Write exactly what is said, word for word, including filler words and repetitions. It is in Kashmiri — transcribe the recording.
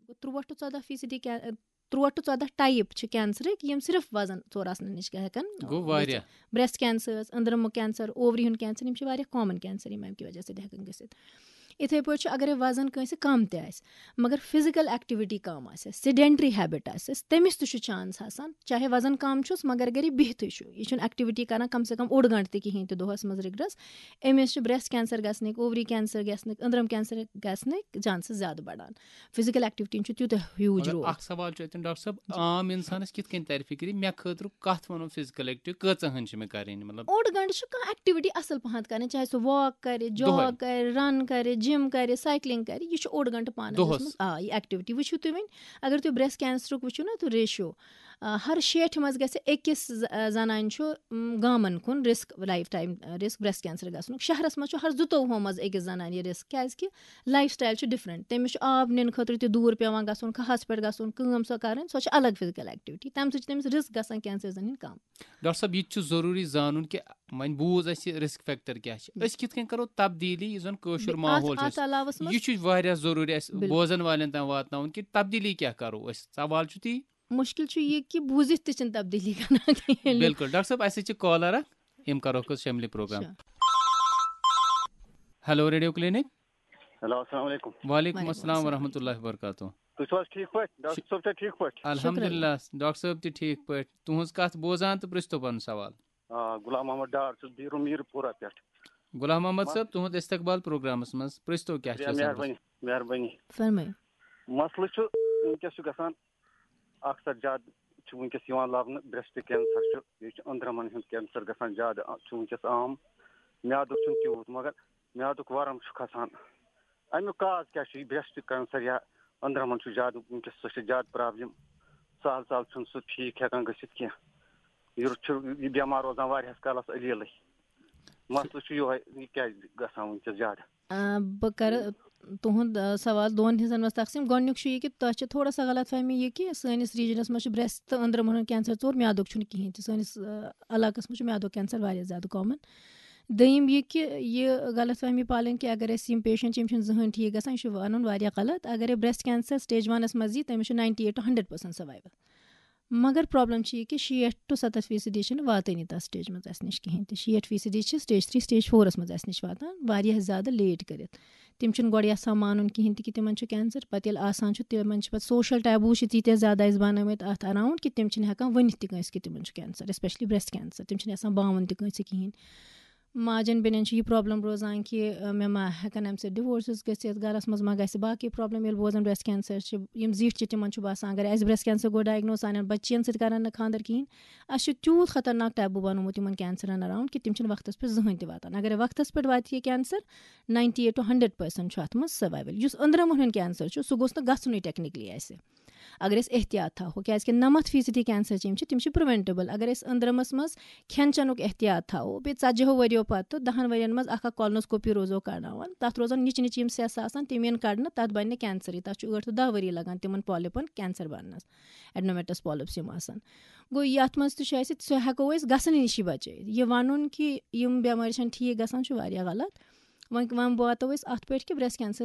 ترٛوٹ ٹُو ژۄداہ فیصدی کین ترٛوٹ ٹُو ژۄداہ ٹایپ چھِ کینسرٕکۍ، یِم صرف وزن ژور آسنہٕ نِش ہٮ۪کن گوٚو واریاہ۔ بریسٹ کینسرز، أنٛدرمُک کینسر، اووری ہُنٛد کینسر، یِم چھِ واریاہ کامن کینسر، یِم امہِ کہِ وجہ سۭتۍ ہٮ۪کن گٔژھِتھ۔ یِتھے پٲٹھۍ چھُ، اگر وزن کٲنٛسہِ کم تہِ آسہِ، مگر فزیکل ایکٹیویٹی کم آسہِ، سیڈینٹری ہیبٹ آسٮ۪س، تٔمِس تہِ چھُ چانس آسان، چاہے وزن کم چھُس، مگر گرِ بِہتھٕے چھُ، یہِ چھُنہٕ ایکٹیویٹی کران کم سے کم اوٚڑ گٲنٛٹہٕ تہِ کِہینۍ تہِ دۄہس منٛز رِگرس، أمِس چھُ بریسٹ کینسر گژھنٕکۍ، اووری کینسر گژھنٕکۍ، أنٛدرم کینسر گژھنٕکۍ چانسز زیادٕ بڑان۔ فزیکل ایکٹیویٹی چھُ تیوٗتاہ ہیوٗج مگر رول۔ اکھ سوال چھُ اتٮ۪ن، ڈاکٹر صٲب، عام انسانس کِتھ کٔنۍ ترِ فکرِ، مےٚ خٲطرٕ کتھ ونو فزیکل ایکٹیویٹی، کۭژاہن چھِ مےٚ کرٕنۍ، مطلب؟ اوٚڑ گٲنٛٹہٕ چھُ کانٛہہ ایکٹیویٹی اصل پہن کرٕنۍ، چاہے سُہ واک کرِ، دۄہے۔ جاگ کرِ، رن کرِ، جم کرِ، سایکلنگ کرِ، یہِ چھُ اوٚڑ گٲنٛٹہٕ پانس دۄہس۔ منٛز۔ آ، یہِ ایکٹیویٹی وٕچھِو تُہۍ وۄنۍ، اگر تُہۍ بریسٹ کینسرُک وٕچھِو نا تُہۍ ریشیو، آ، ہر شیٹھِ منٛز گژھِ أکِس ز-، آ، زنانہِ چھُ، م، گامن کُن risk, life time risk breast cancer گژھنُک۔ شہرس منٛز چھُ ہر زٕتووُہو منٛز أکِس زنانہِ یہِ رسک، کیازِ کہِ لایف سٹایل چھُ ڈفرنٹ، تٔمِس چھُ آب نِنہٕ خٲطرٕ تہِ دوٗر پٮ۪وان گژھُن، کھہس پٮ۪ٹھ گژھُن، کٲم سۄ کرٕنۍ، سۄ چھِ الگ فزیکل ایکٹیویٹی، تمہِ سۭتۍ چھِ تٔمِس رسک گژھان کینسر زنہِ کم۔ ڈاکٹر صٲب، یہِ تہِ چھُ ضروٗری زانُن کہِ وۄنۍ بوٗز اَسہِ رسک فیکٹر کیٛاہ چھِ، أسۍ کِتھ کٔنۍ کرو تبدیٖلی، یُس زن کٲشُر بیٚیہِ ماحول اتھ، اتھ چھُ علاوس اَسہِ، منٛز یہِ چھُ واریاہ ضروٗری اَسہِ بِلکُل۔ بوزن والٮ۪ن تام واتناوُن کہِ تبدیٖلی کیٛاہ کرو أسۍ۔ سوال چھُ تی۔ مُشکِل چھُ یہِ کہِ بوٗزِتھ تہِ چھِنہٕ تبدیٖلی کران کِہیٖنۍ۔ بِلکُل۔ ڈاکٹر صٲب، اَسہِ چھِ کالر اکھ، یِم کرو أسۍ فیملی پروگرام۔ اچھا۔ Hello, radio clinic. ہیلو، السلام علیکم۔ وعلیکم وعلیکم السلام السلام۔ ورحمۃ اللہ وبرکاتہ۔ تُہۍ چھِو حظ ٹھیٖک پٲٹھۍ؟ ڈاکٹر صٲب چھا ٹھیٖک پٲٹھۍ؟ الحمدللہ، ڈاکٹر صٲب تہِ ٹھیٖک پٲٹھۍ۔ تُہٕنٛز کتھ بوزان تہٕ پرٛژھتو پنُن سوال۔ آ، غلام محمد ڈار چھُس بیٖرُ میٖرپوٗرہ پٮ۪ٹھ۔ غلام محمد صٲب، تُہُنٛد استقبال پروگرامس منٛز، پرٛژھتو کیٛاہ چھِ شُکریہ، آسان؟ مہربٲنی، مہربٲنی۔ فرمٲیِو۔ مسلہٕ چھُ وٕنکیٚس چھُ گژھان، اکثر زیادٕ چھُ وٕنکیٚس یِوان لبنہٕ برٛیسٹ کینسر چھُ، بیٚیہِ چھُ أنٛدرمن ہُنٛد کینسر گژھان زیادٕ، آ، چھُ وٕنکیٚس عام۔ میادُک چھُنہٕ تیوٗت، مگر میادُک ورم چھُ کھسان۔ اَمیُک کاز کیٛاہ چھُ؟ یہِ برٛیسٹ کینسر یا أنٛدرمن چھُ زیادٕ وٕنکیٚس، سُہ چھُ زیادٕ پرابلم، سہل سہل چھُنہٕ سُہ ٹھیٖک ہٮ۪کان گٔژھِتھ کینٛہہ۔ یہِ چھُ یہِ بٮ۪مار روزان واریاہس کالس علیلٕے۔ مسلہٕ چھُ یِہوٚے، یہِ کیٛازِ گژھان وٕنکیٚس زیادٕ؟ آ، بہٕ کرٕ تُہُنٛد، آ، سوال دۄن حصن منٛز تقسیٖم۔ گۄڈٕنیُک چھُ یہِ کہِ تۄہہِ چھِ تھوڑا سا غلط فہمی یہِ کہِ سٲنِس ریجنس منٛز چھُ برٛیسٹ تہٕ أنٛدرمن ہُنٛد کینسر ژوٚر، میادُک چھُنہٕ کِہینۍ تہِ۔ سٲنِس، آ، علاقس منٛز چھُ میادُک کینسر واریاہ زیادٕ کامن۔ دوٚیِم یہِ کہِ یہِ غلط فہمی پالٕنۍ کہِ اگر اَسہِ یِم پیشنٹ چھِ، یِم چھِنہٕ زٕہٕنۍ ٹھیٖک گژھان، یہِ چھُ وَنُن واریاہ غلط۔ اگر برٛیسٹ کینسر سٹیج ونس منٛز یی، تٔمِس چھُ ninety eight to hundred percent survival۔ مگر پرابلم چھِ یہِ کہِ شیٹھ to ستتھ فیصدی چھِنہٕ واتٲنی تَتھ سٹیج منٛز اَسہِ نِش کِہینۍ تہِ۔ شیٹھ فیصدی چھِ سٹیج تھری، سٹیج فورس منٛز اَسہِ نِش واتان، واریاہ زیادٕ لیٹ کٔرِتھ۔ تِم چھِنہٕ گۄڈٕ یَژھان مانُن کِہینۍ تہِ کہِ تِمن چھُ کینسر۔ پَتہٕ ییٚلہِ آسان چھُ، تِمن چھِ پَتہٕ سوشل ٹیبوٗ چھِ تیٖتیٛاہ زیادٕ اَسہِ بَنٲومٕتۍ اَتھ اراوُنٛڈ کہِ تِم چھِنہٕ ہٮ۪کان ؤنِتھ تہِ کٲنٛسہِ کہِ تِمن چھُ کینسر، especially برٛیسٹ کینسر۔ تِم چھِنہٕ یَژھان باوُن تہِ کٲنٛسہِ کِہینۍ۔ ماجن بیٚنٮ۪ن چھِ یہِ پرابلم روزان کہِ، آ، مےٚ ما ہٮ۪کن اَمہِ سۭتۍ ڈِوورسز گٔژھِتھ، گرس منٛز ما گژھِ باقٕے پرابلم۔ ییٚلہِ بوزان برٛیسٹ کینسر چھِ، یِم زِٹھۍ چھِ، تِمن چھُ باسان اگر اَسہِ برٛیسٹ کینسر گوٚو ڈائگنوز، سانٮ۪ن بچین سۭتۍ کرن نہٕ خانٛدر کِہینۍ۔ اَسہِ چھُ تیوٗت خطرناک ٹیبوٗ بنومُت یِمن کینسرن اراوُنٛڈ کہِ تِم چھِنہٕ وقتس پٮ۪ٹھ زٕہٕنۍ تہِ واتان۔ اگر وقتس پٮ۪ٹھ واتہِ یہِ cancer, ninety eight to hundred percent چھُ اتھ منٛز سروائیول۔ یُس أنٛدرمن ہُنٛد کینسر چھُ، سُہ گوٚژھ نہٕ گژھُنُے ٹیکنیکلی اَسہِ۔ اگر أسۍ احتیاط تھاوو، کیازِ کہِ نَمَتھ فیصدی کینسر چھِ، یِم چھِ، تِم چھِ پریونٹیبل۔ اگر أسۍ أنٛدرمس منٛز کھٮ۪ن چٮ۪نُک احتیاط تھاوو، بیٚیہِ ژتجی ہو ؤرِیو پتہٕ، دہن ؤرین منٛز اکھ اکھ کولنوسکوپی روزو کرناوان، تتھ روزن نِچہِ نِچہِ یِم سیٚس آسان، تِم یِن کڑنہٕ، تتھ بنہِ نہٕ کینسرٕے۔ تتھ چھُ ٲٹھ to دہ ؤری لگان تِمن پالپن کینسر بننس، ایڈنومیٹس پالپس یِم آسان۔ گوٚو، یتھ منٛز تہِ چھُ اَسہِ، سُہ ہٮ۪کو أسۍ گژھنہٕ نِشی بچٲیِتھ۔ یہِ ونُن کہِ یِم بٮ۪مارِ چھنہٕ ٹھیٖک گژھان، چھُ واریاہ غلط۔ وۄنۍ، وۄنۍ واتو أسۍ اتھ پٮ۪ٹھ کہِ برٛیسٹ کینسر